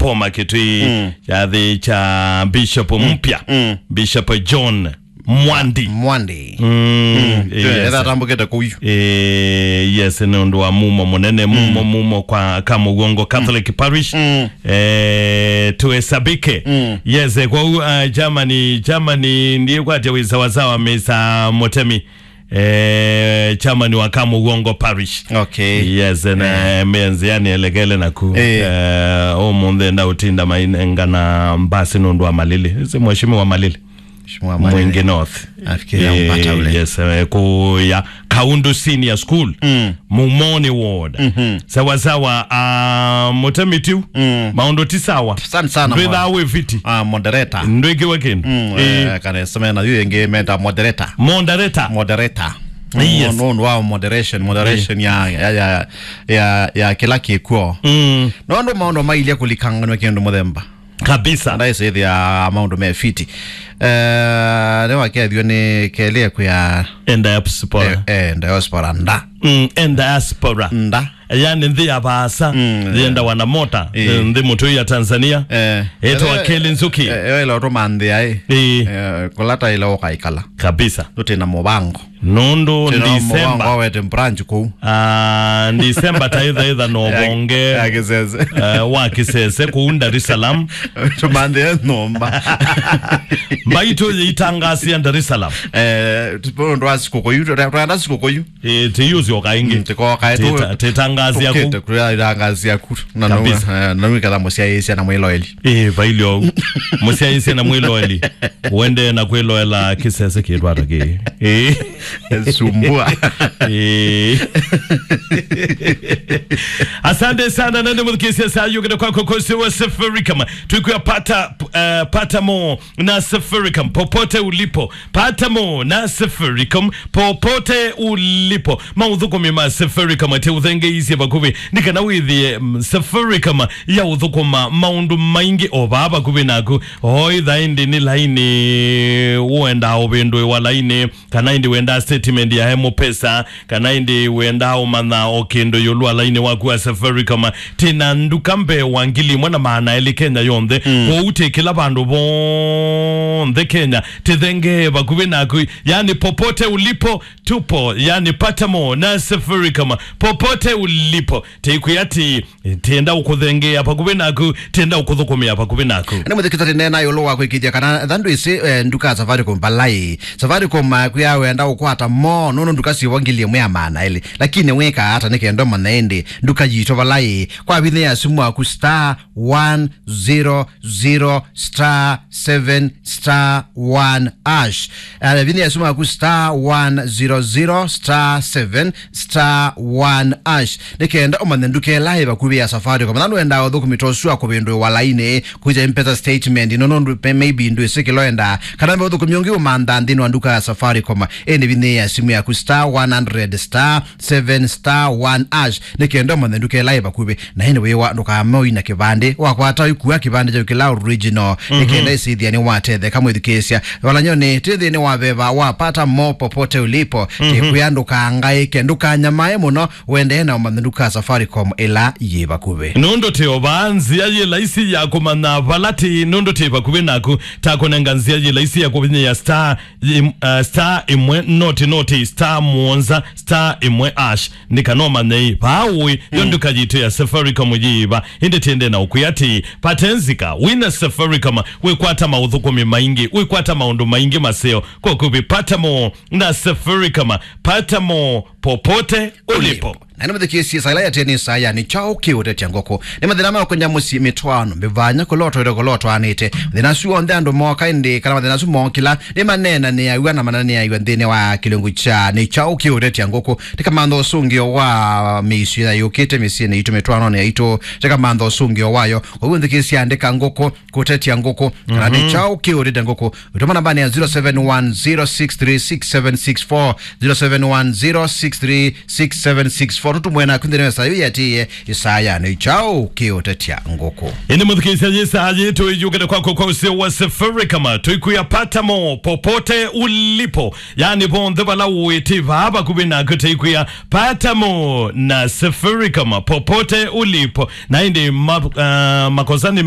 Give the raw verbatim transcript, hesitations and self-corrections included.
Boma Kitui, mm, kyathĩ kya Bishop mpya, mm, Bishop John Mwandi. Mwandi. Mm, mm, yes. Etha atambũkĩte kũu. Eh, yes, nĩ ũndũ wa mumo mũnene, mumo, mm, mumo kwa Kamũguongo Catholic, mm, Parish. Mm. Eh, tuesabike. Mm. Yes, eh, kwa u-, uh, Germany, Germany, ndiye kwatya wĩ sawasawa, Mister Mutemi. Eh, chairman wa Kamũguongo Parish. Okay. Yes, na, eh, menzi yani elekele naku. Eh. Eh, ũmũnthĩ enda ũtinda mainengana mbasi nũndũ wa Malili. Ĩsĩ mheshimiwa Malili. Mheshimiwa Malili. Mwingi North. Nafikiri ampata ule. Yes, eh, kuya Kaundu Senior School. Mm. Mumoni Ward. Mhm. Sawa sawa, ah, Mutemi Tiu. Mm. Maũndũ ti sawa. Sana sana. Ndwĩthaa wĩ fiti. Ah, moderator. Ndwĩkĩwe kĩndũ. Mm, eh, kana sema na yu ĩngĩ meta moderator. Moderator. Moderator. Yes. No, no, no, moderation, moderation, eh, ya, ya, ya, ya, ya kĩla kĩkw'o. Mm. No, no, maũndũ mailye kũlikanganwa kĩndũ mũthemba. Kabisa. Ndaisĩthĩa maũndũ me fiti. Eh, nĩ wakethio nĩ kelĩ kwĩa. Enda diaspora. Eh, eh, diaspora nda. Mm, enda diaspora. Nda. Yani nthĩ ya vaasa, mm, yenda wana mota, eh, nthĩ mũtũi ya Tanzania. Eh. Etwa, eh, Kelly Nzuki. Eh, eh, ĩla ũtũmanthĩa, eh. Eh. Eh, kũlata ĩla ũkaikala. Kabisa. Tũtĩ na mũvango. Nũndũ Tena December. Mũvango wete branch kũu. Ah, December ta ĩtha ĩtha no ya, bonge, ya Kĩsese. Eh, wa Kĩsese kũu Dar es Salaam. Tũmanthĩe nyũmba. Mbaitũ yĩitangasia Dar es Salaam. Eh, tũndũ wa sikũkũ yu, tũrenda sikũkũ yu. Eh, tĩyũsyoka ĩngĩ. Mm, tĩkoka, tĩta-, tĩtangasia kũu. Tũkĩte kũtangasia kũu. Na kabisa. Nũmwe, eh, na nũmwe ketha mũsyaĩĩsya na mwĩloeli. Ĩĩ, vailyo. Mũsyaĩĩsya na mwĩloeli. Ũendee na kwĩloela kĩsese kĩtwata kĩĩ. Ĩĩ. Sumbua. Ĩĩ. Asante sana, nende mũthikĩsya saa yũkĩte kwako kosi wa Safaricom. Tuikuya pata, eh, pata mo na Safaricom popote ulipo. Pata mo na Safaricom popote ulipo. Maũthũkũmi ma Safaricom atĩ ũthengeisye vakuvĩ nĩ kana wĩthĩe, mm, Safaricom ya ũthũkũma maũndũ maingĩ o vaa vakuvĩ naku. O ĩtha ĩndĩ nĩ laini, ũendaa ũvĩndũĩwa laini, kana ĩndĩ wendaa statement ya M-Pesa, kana ĩndĩ wendaa ũmanya o kĩndũ ĩũlũ wa laini waku wa Safaricom. Tĩna nduka mbee wa ngili ĩmwe na maana elĩ Kenya yonthe. Mm. Kwoou tĩ kĩla vandũ vonthe Kenya, tĩthengee vakuvĩ naku, yani popote ulipo, tupo, yani pata mo na Safaricom, popote ulipo. Tĩkwĩa atĩ, tĩenda ũkũthengeea vakuvĩ naku, tĩenda ũkũthũkũmĩa vakuvĩ naku. Nĩ mũthikĩtani neena ĩũlũ wa kwĩkĩthya kana tha ndwĩsĩ, eh, nduka ya Safaricom vala ĩ. Safaricom makwĩa wenda ũkwata mo, nũndũ nduka syĩvo ngili ĩmwe ya maana elĩ. Lakini wĩkaa ata nĩ kenda ũmanya ĩndĩ nduka yitũ vala ĩ? Kwa vinya ya simu yaku star one zero zero star seven star one hash. Eh, vinya ya simu yaku star one zero zero star seven star one hash. Nĩ kenda ũmanye nduka ĩla ĩ vakuvĩ ya Safaricom. Na nũendaa ũthũkũmi ta ũsu wa kũvĩndũĩwa laini, kũkya M-Pesa statement, no, no, ndũ-, pe-, maybe ndwĩsĩ kĩla ũendaa. Kana ve ũthũkũmi ũngĩ ũmanthaa nthĩnĩ wa nduka ya Safaricom. Ĩndĩ vinya ya simu yaku star one hundred star seven star one hash. Nĩ kenda ũmanye nduka ĩla ĩ vakuvĩ. Na ĩndĩ wĩwa ndũkamoi na kĩvandĩ. Wakwata ũikua kĩvandĩ kyaku kĩla original. Nĩ kenda ĩsĩthĩa nĩ watetheka mwĩthukĩĩsya. Valanyoni, twĩ nthĩnĩ wa veva wa pata mo popote ulipo. Mhm. Tĩkwĩa ndũkangaĩke, ndũkanyamae mũno, wendee na ũmanye nduka Safaricom ĩla yĩ vakuvĩ. Nũndũ tĩ o vaa nzĩa yĩ laisi ya kũmanya vala tĩ, nũndũ tĩ vakuvĩ naku, ta kũnenga nzĩa yĩ laisi ya kũvinyĩa star, im-, uh, star ĩmwe noti noti star mũonza star ĩmwe hash. Nĩ kana ũmanye ĩ vaa ũĩ, yo nduka yitũ ya Safaricom yĩ va. Ĩndĩ tiende na ũkwĩa atĩ, patenzika, wĩna Safaricom, wĩkwata maũthũkũmi maingĩ, wĩkwata maũndũ maingĩ maseo, kwa kũvĩ pata mo na Safaricom, pata mo popote ulipo. Na nĩ mũthikĩĩsye saa ĩla yatene saa ya nĩ kyaũ kĩũtetya ngũkũ. Nĩ mathĩna ma kũnya mũsyĩ, mĩtwaano, mĩvanya, kũlotwa ĩla kũlotwanĩte. Mathĩna asu onthe andũ moka ĩndĩ, kana mathĩna asu mookĩla, nĩ maneenanĩaw'a na maneenanĩaw'a nthĩnĩ wa kĩlungu kya nĩ kyaũ kĩũtetya ngũkũ. Tĩkamantha ũsũngĩo wa mĩisyo ya yũkĩte mĩsyĩnĩ itũ, mĩtwaanonĩ yaitũ. Tĩkamantha ũsũngĩo wayo. Kwoou nthikĩĩsya andĩka ngũkũ, kũtetya ngũkũ. Kana nĩ kyaũ kĩũtetya ngũkũ. Ũtũma nambanĩ ya zero seven one zero six three six seven six four, zero seven one zero six three six seven six four. Tũtũmwe naku nthĩnĩ wa saa ĩyo yatĩĩe, ĩsaa ya nĩ kyaũ kĩũtetya ngũkũ. Ĩndĩ mũthikĩĩsya, yĩ saa yĩĩ tũiyũkĩte kwako kwa ũseo wa Safaricom. Tũikuya pata mo popote ulipo. Yani vonthe vala ũĩ, tĩ vaa vakuvĩ naku, tũikuya pata mo na Safaricom popote ulipo. Na ĩndĩ ma-, ah, makosa nĩ me-